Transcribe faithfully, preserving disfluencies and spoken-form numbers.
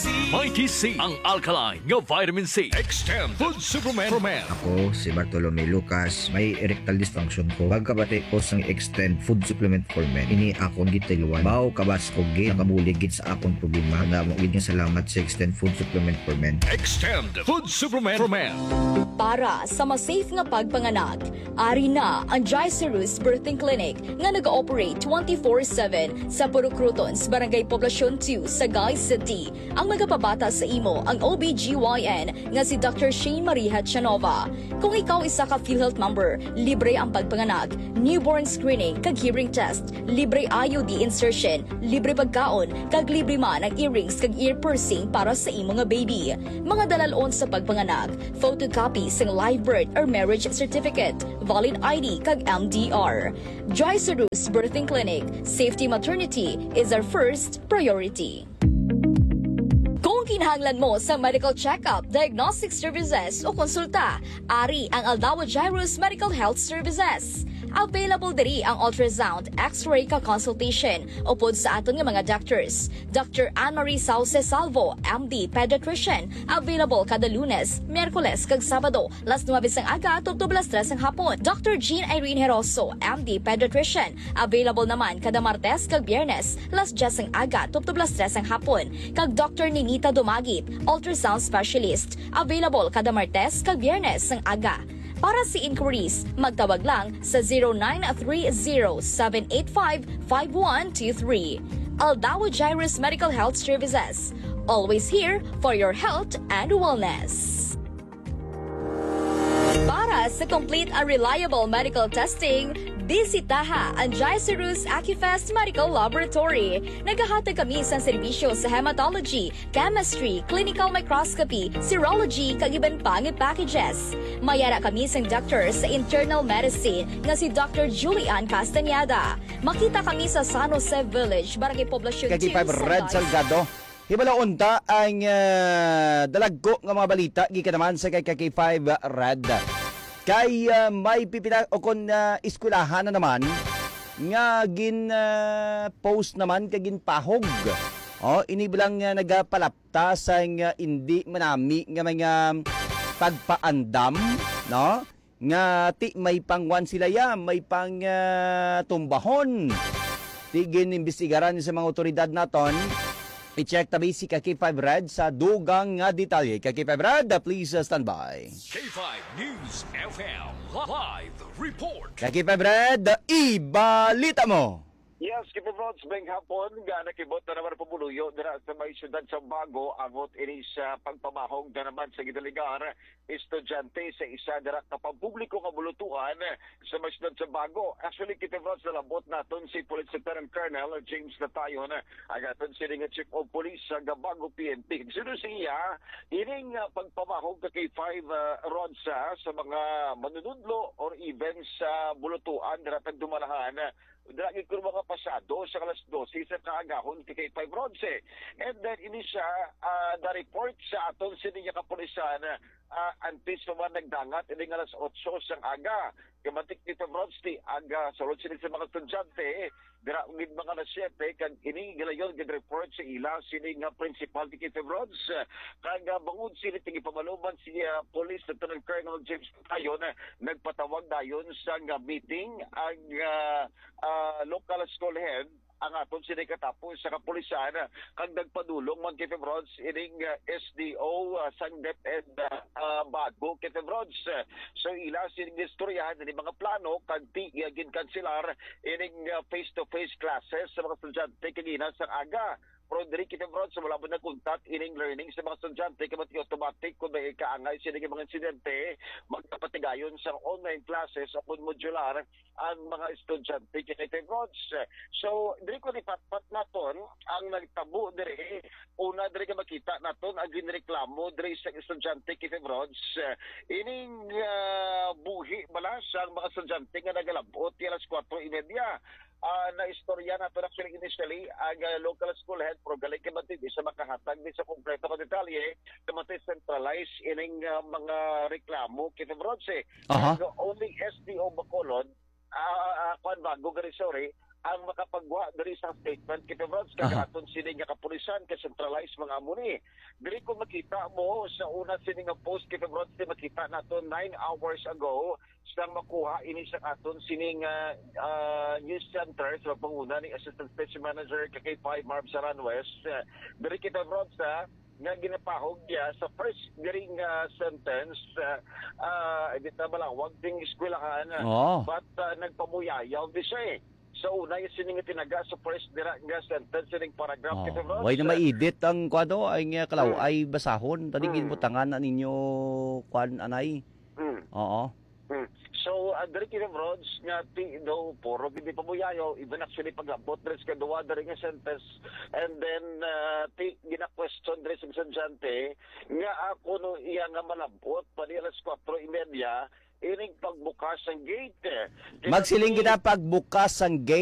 Mighty C, ang alkaline nga vitamin C. Extend Food Supplement for Men. Ako si Bartolome Lucas, may erectile dysfunction ko. Pagkabati ko sang Extend Food Supplement for Men, ini akon gitiluan. Baw kabas ko gid, nakabulig gid sa akon problema. Damo gid nga salamat sa Extend Food Supplement for Men. Extend Food Supplement for Men. Para sa mas safe nga pagpanganak, ari na ang Gicerus Birthing Clinic nga nag-ooperate twenty-four seven sa Purok Crotons, Barangay Poblacion two, Sagay City. Ang magapabata sa imo ang O B G Y N nga si Doctor Shane Marie Hachanova. Kung ikaw isa ka PhilHealth member, libre ang pagpanganak, newborn screening kag hearing test, libre I U D insertion, libre pagkaon, kag libre man ang earrings kag ear piercing para sa imo nga baby. Mga dalalon sa pagpanganak, photocopy sang live birth or marriage certificate, valid I D kag M D R. Joy Sarus Birthing Clinic, safety maternity is our first priority. Kung kinahanglan mo sa medical check-up, diagnostic services o konsulta, ari ang Aldawa Jairus Medical Health Services. Available diri ang ultrasound, X-ray ka consultation upod sa aton nga mga doctors. Doctor Anne Marie Sauce Salvo, M D Pediatrician, available kada Lunes, Miyerkules kag Sabado, las nuebe sang aga tubtob las tres sang hapon. Doctor Jean Irene Heroso, M D Pediatrician, available naman kada Martes kag Biyernes, las diyes sang aga tubtob las tres sang hapon. Kag Doctor Ninita Dumagit, ultrasound specialist, available kada Martes kag Biyernes sang aga. Para sa inquiries, magtawag lang sa zero nine three zero seven eight five five one two three. Aldawa Jairus Medical Health Services, always here for your health and wellness. Para sa complete and reliable medical testing, bisitaha ang Jairus Acufest Medical Laboratory. Nagahatag kami sa serbisyo sa hematology, chemistry, clinical microscopy, serology, kag iban pa nga packages. May ara kami sang doctor sa internal medicine nga si Doctor Julian Castañeda. Makita kami sa San Jose Village, Barangay Poblacion Kaki two, five Red Sagay. Salgado. Hibalo unta ang ah, dalagko nga mga balita gikan naman sa kay Kaki five Red. Kay ah, may pipila o kon ah, eskwelahan na naman nga gin ah, post naman kag ginpahog. Oh, ini bilang ah, nagapalapta sa nga indi manami nga mga pagpaandam, no? Nga ti may pangwan sila ya, may pang ah, tumbahon. Ti gin-imbestigaran sa mga otoridad naton. I-check tabi si Kaki five Red sa dugang nga detalye. Kaki five Red, please uh, stand by. K five News F M live report. Kaki five Red, ibalita mo. Yes, Kipibrods, beng hapon nga nakibot na naman pumuluyo dira sa may siyudad sa Bago, abot ini sa pagpamahog na naman sa gidaligar estudyante sa isa dira ka pampubliko nga bulutuan sa may siyudad sa Bago. Actually, Kipibrods, nalabot naton si Police Lieutenant Colonel James Natayon, ang aton sini nga Chief of Police sa Bago P N P. Sino siya? Ining ah, pagpamahog ka kay five uh, rods ah, sa mga manunudlo or even sa bulutuan dira tag dumalahan dira gid kuno mga pasado sa alas dose sa kaagahon ti kay five Ronce. And then ini siya ah, na-report sa aton sini nga kapulisan ah, antes pa man nagdangat ini nga alas otso sang aga. Kamatik ni five Ronce ti aga sulod sini sa mga estudyante dira gid mga alas siyete kag ini gilayon gid report sa ila sini nga principal ti five Ronce. Kag ah, bangod sini ti gipamaluman si ah, Police Lieutenant Colonel James Tayon, nagpatawag dayon sa nga meeting ang ah, ah, local school head ang aton sini katapos sa kapulisan kag nagpadulong man kay Febrods ining ah, S D O ah, sang DepEd ah, ah, Bago kay Febrods. So ila sini istoryahan ni mga plano kag ti iya ginkanselar ining ah, face-to-face classes sa mga estudyante kagina sang aga. Pero diri kita, bro, sa wala mo nagkuntat ining learning sa mga estudyante, kay mati automatic kung may kaangay sila nga mga insidente, magkapatigayon sa online classes o kung modular ang mga estudyante kay kay Rods. So, diri ko ni patpat naton ang nagtabo diri. Una, diri ka makita naton ang ginreklamo diri sa estudyante kay Rods. Ining ah, buhi bala sa mga estudyante nga nagalabot alas kwatro y media. Ah, naistorya nato actually initially ang ah, local school head, pero galing kay Matindi sa makahatag ni sa kompleto nga detalye, kay Matindi centralized ining ah, mga reklamo kita, Bronze. Aha. Ang only S D O Bacolod, ah, ah, kuwan ba, Gugari, sorry, ang makapagwa diri sa statement, Kevin Rods, kag aton sini nga kapulisan, kay centralized mga amo ni. Diri ko makita mo sa una sini nga post, Kevin Rods, di makita nato nine hours ago sang makuha ini sa aton sining ah, ah, news center sa panguna ni Assistant Station Manager ka K five, Marv Saranwes. Ah, diri kita, Rods, ah, nga ginapahog niya sa first diri nga sentence, ah, ah, di ta malawag ding eskwelahan, ah, Oo. But ah, nagpamuyayaw di siya eh. Sa una yung sining tinaga sa first dira nga sentence, sining paragraph, Oh, kita, Rods, way na ah, ma-edit ang kuan, ay nga kalaw Mm. ay basahon, tadi Mm. ginbutangan na ninyo kuan, anay. Mm. Oo. Hmm. So, uh, diri kini, Rods, nga ti daw puro gid pamuyayaw, even actually pag-abot diri sa kaduwa diri nga sentence, and then uh, ti gina-question diri sa estudyante nga ako no iya nga malabot pa di alas kwatro y media ining pagbukas ang gate. Kaya Magsiling ti- kita pagbukas sang gate.